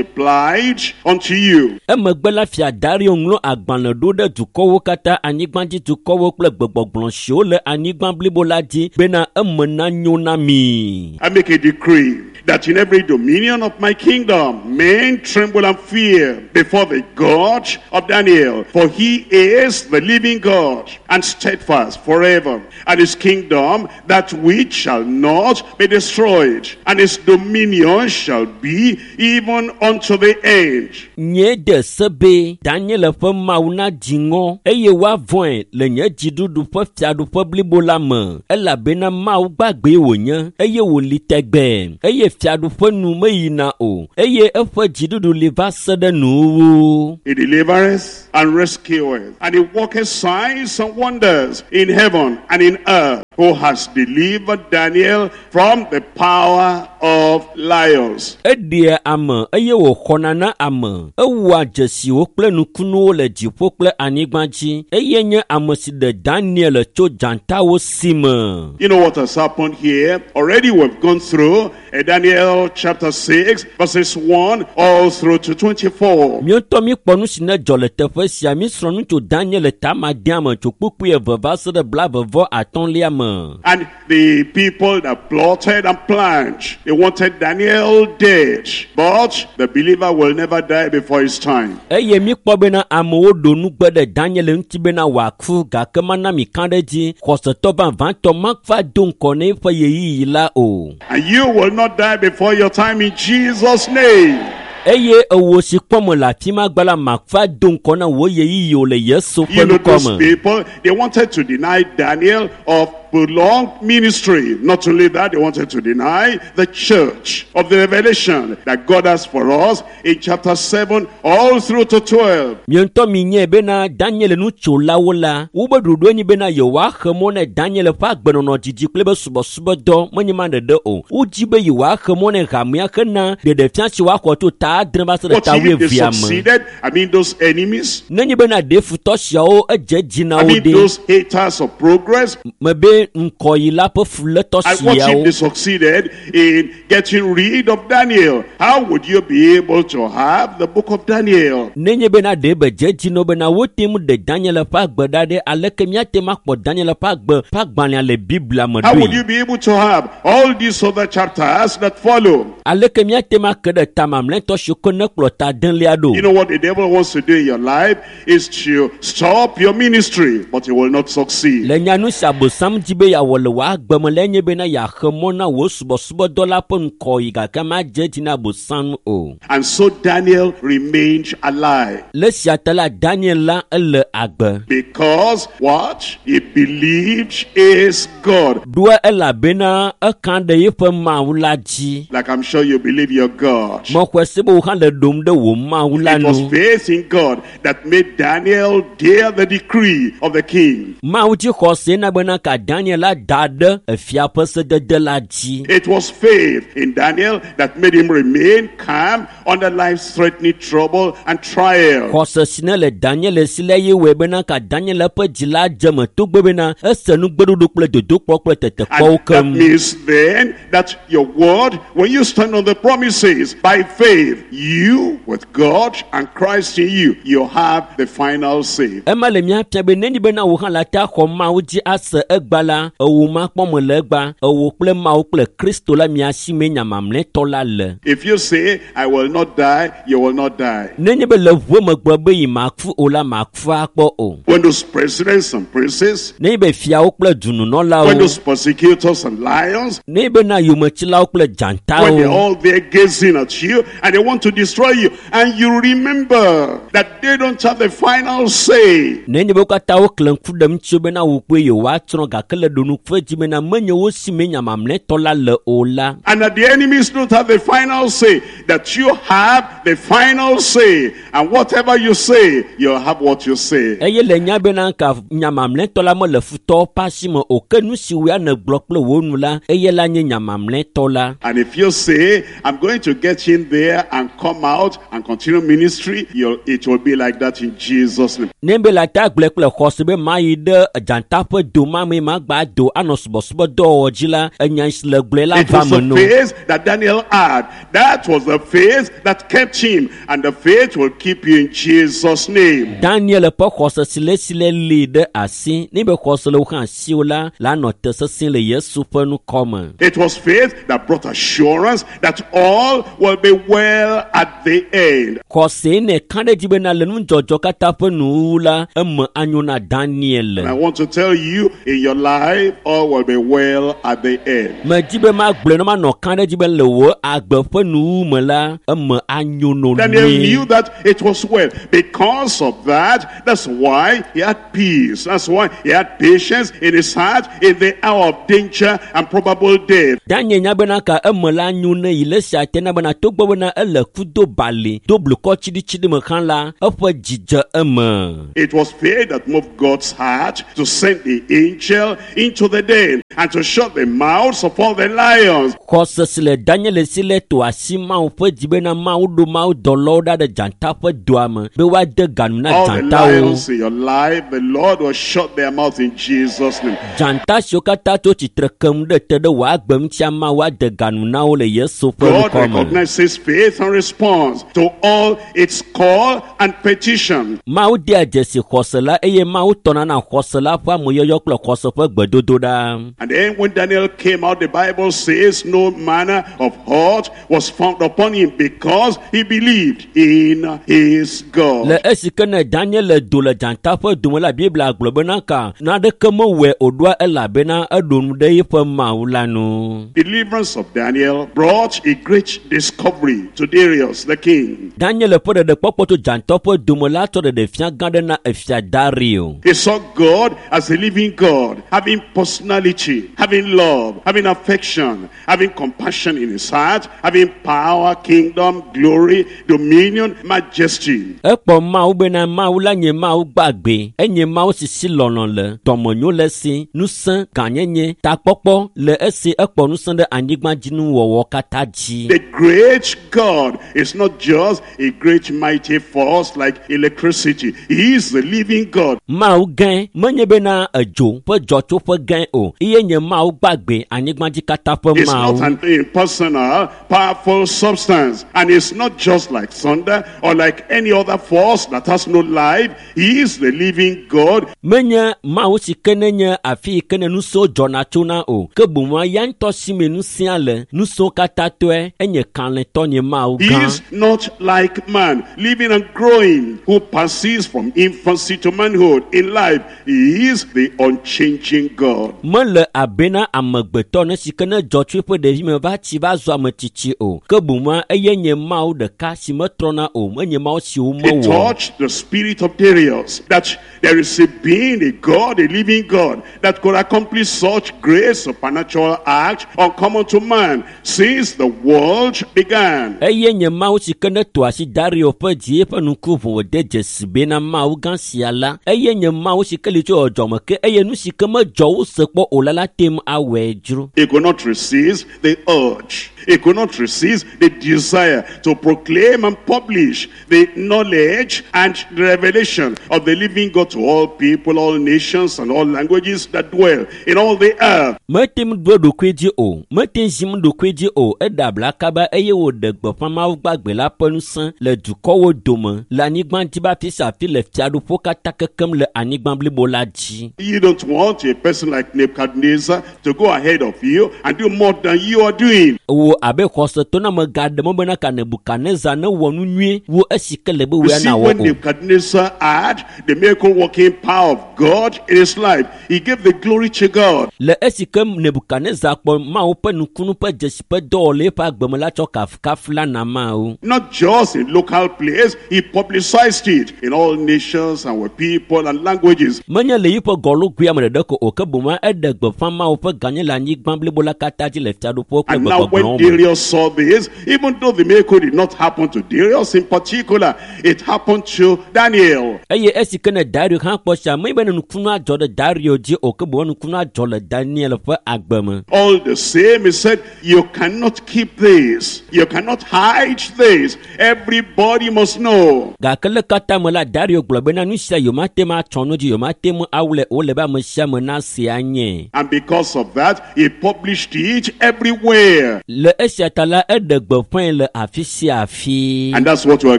multiplied unto you. Emegbe la fia Dario ŋlɔ agbalẽ ɖo ɖe dukɔwo katã, anyigbadzi dukɔwo kple gbegbɔgblɔ siwo le anyigba blibo la dzi bena eme nanyo na mi. I make a decree that in every dominion of my kingdom men tremble and fear before the God of Daniel, for he is the living God and steadfast forever, and his kingdom that which shall not be destroyed, and his dominion shall be even unto the end. Nye de se be Daniel ƒe Mawu nadzi ŋɔ eye woavɔ̃e le nye dziɖuɖu ƒe fiaɖuƒe blibo la me elabena Mawu gbagbee wònye eye wòli tegbee eye fiaɖuƒe nu meyina o eye eƒe dziɖuɖu li va se ɖe nuwuwu. He delivereth and rescueth, and he worketh signs and wonders in heaven and in earth, who has delivered Daniel from the power of lions. Eɖea ame eye wòxɔna na ame. Ewɔa dzesiwo kple nukunuwo le dziƒo kple anyigba dzi eye nye ame si ɖe Daniel tso dzatawo si me. You know what has happened here? Already we've gone through eh, Daniel chapter six, verses one all through to twenty-four. Míatɔ míkpɔ nu si ne dzɔ le teƒe sia mísrɔ̃ nu tso Daniel tamadea me tso kpukpui eve va se ɖe blaeve atɔ̃lia me. And the people that plotted and planned, they wanted Daniel dead. But the believer will never die before his time. Eye míkpɔ bena amewo ɖo nugbe ɖe Daniel ŋuti bena wòaku gake mana mi ka ɖe edzi xɔsetɔ vavãtɔ mava do ŋkɔ na eƒe ɣeyiɣi la o. And you will not die before your time in Jesus' name. Eye ewo si kpɔm le afi ma gba la mava do ŋkɔ na wò ɣeyiɣi o le Yesu ƒe You know, ŋkɔ those me. people, they wanted to deny Daniel of prolonged ministry. Not only that, they wanted to deny the church of the revelation that God has for us in chapter seven all through to twelve. Mia ŋutɔ minyae bena Daniel nutsolawo la, wobe ɖoɖoe nye bena yewoaxe mɔ na Daniel ƒe agbenɔnɔ dzidzi kple eƒe subɔsubɔdɔ menye ma ɖeɖe o. Wodzi be yewoaxe mɔ na hamea hena ɖeɖefia si woaxɔ tso ta adre va se ɖe But ta if they wuievea me. succeeded, I mean those enemies, Nenye bena ɖe futɔ siawo edze dzi na I wo mean ɖe, those haters of progress, mebe ŋkɔyila ƒe fulétɔ and what if siawo. they succeeded in getting rid of Daniel? How would you be able to have the book of Daniel? Nenye bena ɖe be dze dzi na wo bena wote ŋu ɖe Daniel ƒe agbe ɖa ɖe, aleke míate ŋu akpɔ Daniel ƒe agbe ƒe agbalẽa le Biblia me How would ɖoe? you be able to have all these other chapters that follow? Aleke míate ŋu ake ɖe ta mamlɛtɔ siwo ke ne kplɔ ta adelia ɖo? You know what the devil wants to do in your life is to stop your ministry, but he will not succeed. Le nyanu si Abosam di be yeawɔ le wò agbe me lae nye bena yeaxe mɔ na wò subɔsubɔdɔ la ƒe ŋkɔyi gake madze edzi na Abosam o. And so Daniel remained alive. Le sia ta la, Daniel la ele agbe. Because what? He believed is God. Ɖoa elabena eka ɖe eƒe Mawu la dzi. Like I'm sure you believe your God. Mexɔe se be wò hã le ɖom ɖe wò Mawu la It was nu. faith in God that made Daniel dare the decree of the king. Mawu dzi xɔse na bena ka Daniel la da ɖe efia ƒe sedede la dzi. It was faith in Daniel that made him remain calm under life-threatening trouble and trial. Xɔse si ne le Daniel si la ye wɔe bena ka Daniel ƒe dzi la dze me togbɔ bena ese nugbeɖoɖo kple dodokpɔ kple tetekpɔwo And that keŋ. means then that your word, when you stand on the promises by faith, you with God and Christ in you, you have the final say. Ema le mía fia be nenye bena wò hã la te axɔ Mawu dzi ase egba la, ewo makpɔ me le egba, ewo kple Mawu kple Kristo la mia si mee nya mamlɛtɔ la le. If you say, I will not die, you will not die. Nenye be le ʋue me gblɔ be yi maku o la, maku akpɔ o. When those presidents and princes, Nenye be fiawo kple when dununɔlawo, those persecutors and lions, nenye bena yometsilawo kple when they're dzatawo, all there gazing at you and they want to destroy you, and you remember that they don't have the final say. nenye be wo katã woklẽ ŋku ɖe ŋutiwo bena wò kple yewoatsrɔ̃ gake le ɖonuƒe dzi bena menye wo si mee nya mamlɛtɔ la le o la. And that the enemies don't have the final say, that you have the final say. And whatever you say, you'll have what you say. Eye le nya bena ka nya mamlɛtɔ la mele futɔwo ƒe asi me o ke nu si woa nègblɔ kple wò nu la eye la nye nya mamlɛtɔ la. And if you say, I'm going to get in there and come out and continue ministry, you'll, it will be like that in Jesus' name. Ne be le ata gblɔe kple xɔse be mayi ɖe dzata ƒe do ma me magba do anɔ subɔsubɔdɔwɔwɔ dzi la enya si le gblɔe la It va was me the no. faith that Daniel had. That was the faith that kept him. And the faith will keep you in Jesus' name. Daniel ƒe xɔse si le si le li ɖe asi ne be xɔse le wo hã asiwò la la nɔ te sesĩe le Yesu ƒe ŋkɔ me. It was faith that brought assurance that all will be well at the end. Xɔse ne ka ɖe edzi bena le nudzɔdzɔ katã ƒe nuwuwu la eme anyo na Daniel. And I want to tell you, in your life, life, all will be well at the end. Medi be magblɔe ne manɔ kã ɖe dzi be le wò agbe ƒe nuwu me la eme anyo no Daniel nyuie. knew that it was well. Because of that, that's why he had peace. That's why he had patience in his heart in the hour of danger and probable death. Daniel nya bena ka eme la nyo ne yi le sia te na bena togbɔ bena ele ku do bali do blukɔ tsiɖitsiɖi me hã la eƒe dzi dze eme. It was fear that moved God's heart to send the angel into the den and to shut the mouths of all the lions. Xɔse si le Daniel si le to asi Mawu ƒe dzi bena Mawu ɖo Mawu dɔlawo ɖa ɖe dzata ƒe doa me be woade ga nu na All the dzatawo. lions in your life, the Lord will shut their mouths in Jesus' name. Dzata siwo katã tso tsitre kem ɖe te ɖe wò agbe ŋutia Mawu ade ga nu na wo le Yesu ƒe God ŋkɔ me. recognizes faith and responds to all its call and petition. Mawu dea dzesi xɔse la eye Mawu tɔna na xɔse la ƒe ameyɔyɔ kple xɔse ƒe gbedodoɖa. And then when Daniel came out, the Bible says no manner of hurt was found upon him because he believed in his God. Le esi ke ne Daniel le do le dzata ƒe dome la Biblia gblɔ bena ka naneke mewɔe o ɖoa elabena eɖo nu ɖe eƒe Mawu la nu. Deliverance of Daniel brought a great discovery to Darius the king. Daniel ƒe ɖeɖekpɔkpɔ tso dzata ƒe dome la tsɔ ɖeɖefia gã ɖe na efia Dario. He saw God as a living God, having personality, having love, having affection, having compassion in his heart, having power, kingdom, glory, dominion, majesty. Ekpɔ Mawu bena Mawu la nye Mawu gbagbe, enye Mawu si si lɔlɔ̃ le, dɔmenyo le esi, ŋusẽ, gãnyenye, takpɔkpɔ le esi ekpɔ ŋusẽ ɖe anyigbadzinuwɔwɔ katã dzi. The great God is not just a great mighty force like electricity. He is the living God. Mawu gãe menye bena edzo ƒe dzɔtsoƒe gãe o, eye nye Mawu gbagbe anyigbadzi katã ƒe It's not Mawu. an impersonal, powerful substance. And it's not just like thunder or like any other force that has no life. He is the living God. Menye Mawu si ke ne nye afi yi ke ne ŋusẽwo dzɔna tsona o, ke boŋ ya ŋutɔ si me ŋusẽa le, ŋusẽwo katã tɔe, enye kalẽtɔ nye Mawu He gã. is not like man, living and growing, who passes from infancy to manhood in life. He is the unchanging God. Mele abena amegbetɔ ne si ke ne dzɔ tso eƒe ɖevime va tsi va zu ame tsitsi o, ke boŋ eye nye Mawu ɖeka si metrɔna o, menye Mawu si It womewɔ. touched the spirit of Darius that there is a being, a God, a living God, that could accomplish such great supernatural act uncommon to man since the world began. Eye nye Mawu si ke ne to asi Dario ƒe dzi eƒe ŋku ʋu wòde dzesi bena Mawu gã sia la, eye nye Mawu si ke li tso dzɔdzɔme ke eye nu si ke medzɔ wose kpɔ o la la te ŋu awɔe dzro. He could not resist the urge. He could not resist the desire to proclaim and publish the knowledge and the revelation of the living God to all people, all nations, and all languages that dwell in all the earth. Mete ŋu ɖo eɖokui dzi o, mete ŋu zim ɖokui dzi o, eɖe abla kaba eye wòɖe gbeƒã Mawu gbagbe la ƒe ŋusẽ le dukɔwo dome, le anyigba dzi be afi sia afi le fiaɖuƒewo katã kekem le anyigba blibo la dzi. You don't want a person like Nebuchadnezzar to go ahead of you and do more than you are doing. Wò abe xɔsetɔ na megaɖe mɔ bena ka Nebukadnezar newɔ nu nyuie wu esi ke le be You wòya see, nawɔ when o. Nebuchadnezzar had the miracle working power of God in his life, he gave the glory to God. Le esi ke Nebukadnezar kpɔ Mawu ƒe nukunu ƒe dzesi ƒe dɔwɔwɔ le eƒe agbe me la tsɔ kafukafu la na Mawu. Not just in local place, he publicized it in all nations and with people and languages. Menye le yiƒe gɔlugui ame ɖeɖe ko o, ke boŋ eɖe gbeƒã Mawu ƒe gãnye le anyigba blibo la katã dzi le fiaɖuƒewo kple And now when gbegbɔgblɔwo me. Darius saw this, even though the miracle did not happen to Darius in particular, it happened to Daniel. Eye esi ke ne Dario hã kpɔ sia, menye be ne nukunua dzɔ ɖe Dario dzi o, ke boŋ nukunua dzɔ le Daniel ƒe agbe me. All the same, he said, you cannot keep this. You cannot hide this. Everybody must know. Gake le katã me la, Dario gblɔ bena nu sia yewomate ŋu atsɔ nu dzi, yewomate ŋu awlɛ o, ele be ame sia ame nase anye. And because of that, he published it everywhere. Le esia ta la, eɖe gbeƒãe le afi sia afi. And that's what we are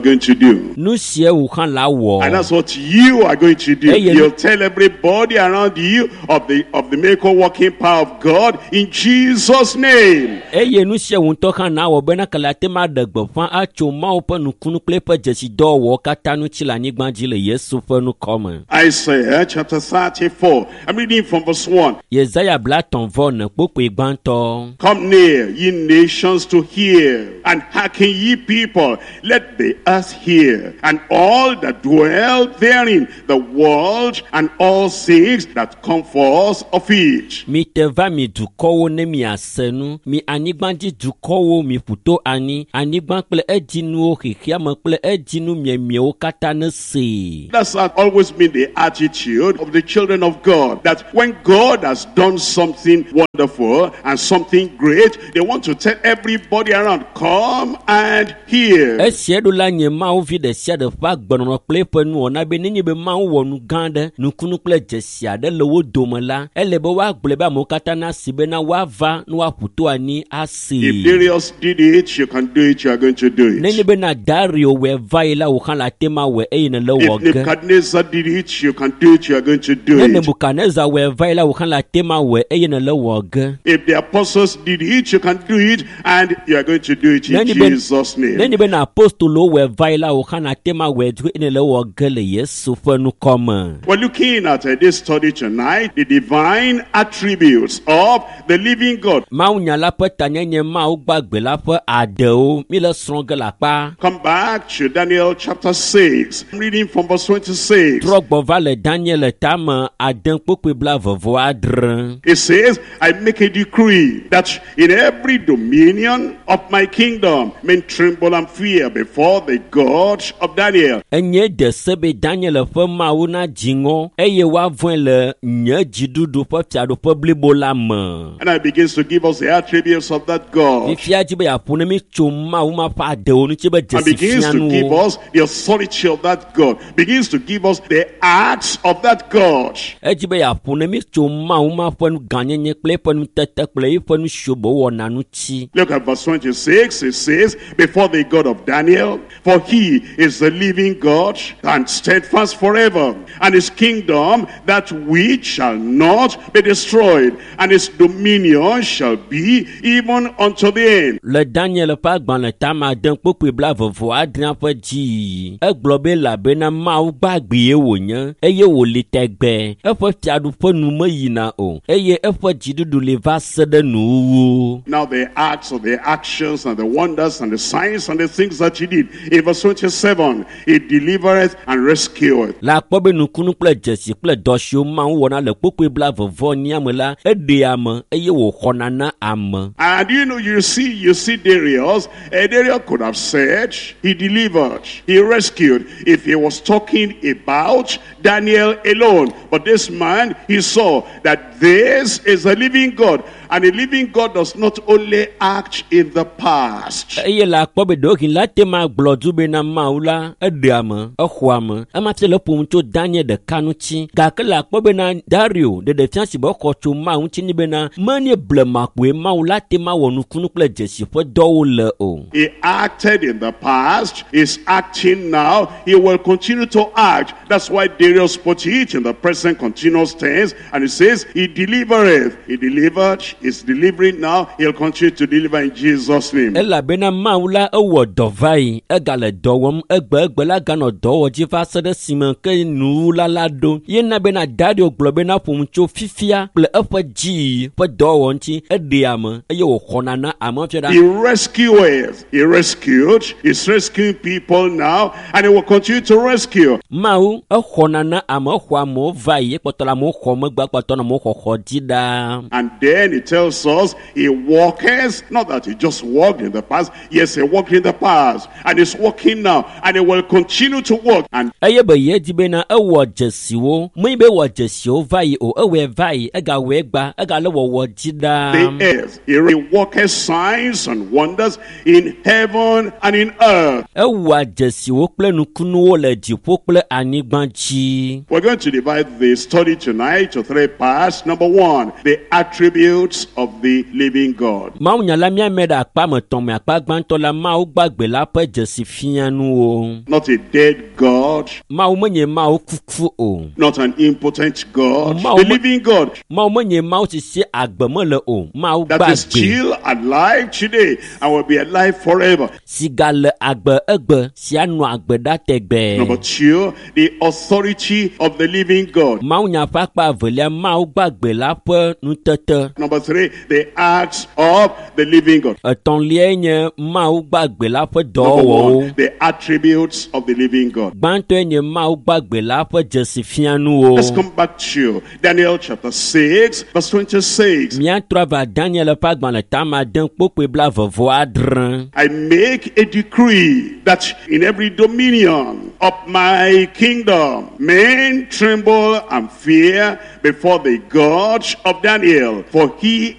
going to do. Nu sia wò hã la wɔ. And that's what you are going to do. Hey, you- You'll tell everybody around you of the of the miracle working power of God in Jesus' name. Eye nu sia wò ŋutɔ hã nawɔ bena ke le ate ŋu aɖe gbeƒã atso Mawu ƒe nukunu kple eƒe dzesidɔwɔwɔ katã ŋuti le anyigba dzi le Yesu ƒe ŋkɔ me. Isaiah chapter thirty-four. I'm reading from verse one. Yesaya blatɔ̃ vɔ ne kpokpoe gbãtɔ. Come near, ye nations, to hear, and hearken, ye people. Let the earth hear, and all that dwell therein, the world, and all things that come forth of it. Mi te va mi dukɔwo ne miase nu, mi anyigbadzi dukɔwo mi ƒu to anyi, anyigba kple edzinuwo xexeame kple edzinu miemiewo katã ne see. That's always been the attitude of the children of God, that when God has done something wonderful and something great, they want to tell everybody around, come and hear. Esia ɖo la nye Mawu vi ɖe sia ɖe ƒe agbenɔnɔ kple eƒe nuwɔna be nenye be Mawu wɔ nu gã aɖe, nukunu kple dzesi aɖe le wo dome la, ele be woagblɔe be amewo katã nasi bena woava ne woaƒu to anyi asee. If Darius did it, you can do it, you are going to do Nenye it. bena Dario wɔe va yi la, wò hã le ate ma wɔe eye nèle If wɔ ge. Nebuchadnezzar did it, you can do it, you are going to do Ne it. Nebukadnezar wɔe va yi la, wò hã le ate ma wɔe eye nèle wɔ ge. If the apostles did it, you can do it, and you are going to do it in Nenye be- Jesus' name. Nenye bena apostolowo wɔe va yi la, wò hã le ate ma wɔe dzi eye nèle wɔ ge le Yesu ƒe ŋkɔ me. We're looking at uh, this study tonight, the divine attributes of the living God. Mawunya la ƒe tanyenye Mawu gbagbe la ƒe adewo mi le srɔ̃ ge le akpa. Come back to Daniel chapter six. I'm reading from verse twenty-six. Trɔ gbɔ va le Daniel tame ade kpokpoe blaeve vɔ adre. It says, I make a decree that in every dominion of my kingdom, men tremble and fear before the God of Daniel. Enye de se be Daniel ƒe Mawu na dzi ŋɔ eye woavɔ̃e le nye dziɖuɖu ƒe fiaɖuƒe blibo la me. And I begins to give us the attributes of that God. Fifia dzi be yeaƒo ne mi tso Mawu ma ƒe adewo ŋuti be And dzesi begins to give fianuwo. us the authority of that God. Begins to give us the acts of that God. Edzi be yeaƒo ne mi tso Mawu ma ƒe nu gãnyenye kple eƒe nutete kple eƒe nu siwo be wɔna ŋuti. Look at verse twenty-six. It says, before the God of Daniel, for he is the living God and steadfast forever, and his kingdom that which shall not be destroyed, and his dominion shall be even unto the end. Le Daniel ƒe agbalẽ tame ade kpokpoe blaeve vɔ adrea ƒe dziyiyi, egblɔ be elabena Mawu gbagbee wònye eye wòli tɛgbɛ. Eƒe fiaɖuƒe nu meyina o eye eƒe dziɖuɖu li va se ɖe nuwuwu. Now the acts of the actions and the wonders and the signs and the things that he did. In verse twenty-seven, he delivereth and rescueth. Le akpɔ be nukunu kple dzesi kple dɔ siwo Mawu wɔna le kpokpoe blaeve vɔ enyia me la, eɖea ame eye wòxɔna na ame. And you know, you see, you see Darius. Uh, Darius could have said he delivered, he rescued, if he was talking about Daniel alone. But this man, he saw that this is a living God. And a living God does not only act in the past. Eye le akpɔ be ɖewohĩ la te ma gblɔ du bena Mawu la eɖea ame, exɔa ame. Ema fia le ƒom tso Daniel ɖeka ŋuti. Gake le akpɔ bena Dario ɖeɖefia si be exɔ tso Mawu ŋuti ni bena menye blema koe Mawu la te ma wɔ nukunu kple dzesi ƒe dɔwo le o. He acted in the past, he's acting now, he will continue to act. That's why Darius put it in the present continuous tense, and he says, he delivereth. He delivered, he's delivering now, he'll continue to deliver in Jesus' name. Elabena Mawu la ewɔ dɔ va yi, egale dɔ wɔm egbe egbe la ganɔ dɔ wɔ dzi va se ɖe esime ke nuwula la ɖo. Ye na bena Dario gblɔ bena ƒom tso fifia kple eƒe dziyiyi ƒe dɔwɔwɔ ŋuti, eɖea ame eye wòxɔna na ame fia ɖa. He rescueth. He rescued. He's rescuing people now, and he will continue to rescue. Mawu exɔna na ame, exɔ amewo va yi, ekpɔtɔ le amewo xɔm egbea kpɔtɔ nɔ amewo xɔxɔ dzi ɖaa. And then he tells us he walketh, not that he just walked in the past. Yes, he walked in the past, and he's walking now, and he will continue to walk. And Eye be ye di bena ewɔ dzesiwo, menye be ewɔ dzesiwo va yi o, ewɔe va yi, egawɔe gba, egale wɔwɔ dzi ɖaa. the earth, he worketh signs and wonders in heaven and in earth. Ewɔa dzesiwo kple nukunuwo le dziƒo kple anyigba dzi. We're going to divide the study tonight to three parts. Number one, the attributes attributes of the living God. Mawunya la míame ɖe akpa me tɔ̃ me akpa gbãtɔ la Mawu gbagbe la ƒe dzesi fianuwo. Not a dead God, Mawu menye Mawu kuku o. not an impotent God, Mawu the me- living God Mawu menye Mawu si si agbe mele o. Mawu that is gbagbe still alive today and will be alive forever. si gale agbe egbe si anɔ agbe ɖa tegbee. Number two, the authority of the living God. Mawunya ƒe akpa evelia Mawu gbagbe la ƒe nutete. Number three, the acts of the living God. Etɔ̃liae nye Mawu gbagbe la ƒe Number dɔwɔwɔwo. one, the attributes of the living God. Gbãtɔe nye Mawu gbagbe la ƒe dzesi fianuwo. Let's come back to Daniel chapter six, verse twenty-six. Míatrɔ ava Daniel ƒe agbalẽ tama ade kpokpoe blaeve vɔ adre. I make a decree that in every dominion of my kingdom, men tremble and fear before the God of Daniel, for he